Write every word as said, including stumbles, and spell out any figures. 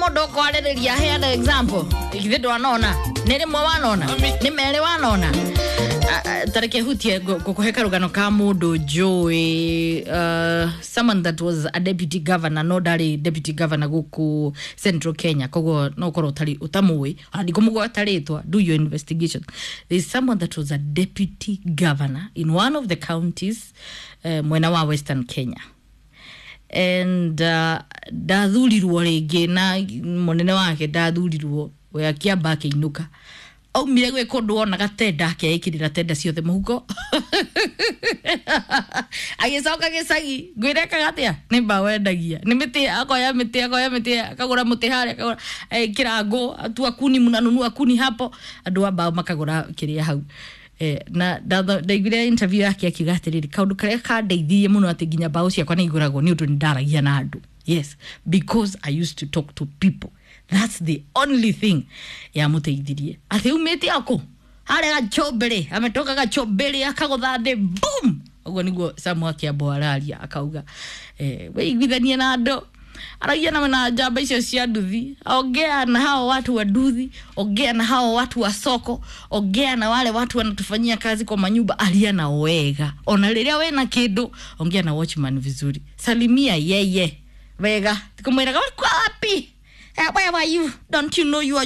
Mũndũ ũkwarĩrĩria heana example. Githĩ ndwanona nĩ rĩmwe wanona nĩ merĩ wanona. Tareke hutie ngũkũhe karũgano ka mũndũ njũĩ, uh, someone that was a deputy governor, no ndarĩ deputy governor gũkũ Central Kenya, koguo no ũkorwo ũtarĩ ũtamũĩ, ona ndikũmũgweta rĩtwa. Do your investigation. There is someone that was a deputy governor in one of the counties, uh, mwena wa Western Kenya, and uh, ndathurirwo rĩngĩ na mũnene wake ndathurirwo, we akĩamba akĩinũka. Aumire gwĩ kũndũ wonaga tenda, akeĩkĩrĩra tenda ciothe mũhuko, agĩcoka gĩcagi. Ngwĩrekaga atĩa? Nĩ mbaũ endagia, nĩ mĩtĩ, akoya mĩtĩ, akoya mĩtĩ, akagũra mũtĩ harĩa, akagũra ekĩra ngũ, atua kuni, mnanunua kuni hapo, andũ a mbaũ makagũra kĩrĩa hau. Eh, na ndaiguire interview yake akiuga atĩrĩrĩ, kaũndũ karĩa kandeithirie mũno atĩ nginya mbaũ ciakwa nĩ igũragwo nĩ ũndũ nĩ ndaragia na andũ. Yes, because I used to talk to people. That's the only thing yamũteithirie, atĩ umĩte akũ harĩa Gachombere, ametoka Gachombere, akagũtha thĩ, boom. Ũguo nĩguo Samu Akĩambo araria, akauga eh, wĩiguithanie na andũ, aragia na na njamba icio cia nduthi, ongea na hao watu wa nduthi, ongea na hao watu wa soko, ongea na wale watu wanatufanyia kazi kwa manyumba, aria na wega. Ona rĩrĩa wena kĩndũ, ongea na watchman vizuri, salimia yeye wega, tikumwĩraga, "Ulikuwa wapi? Eh, where were you? Don't you know you are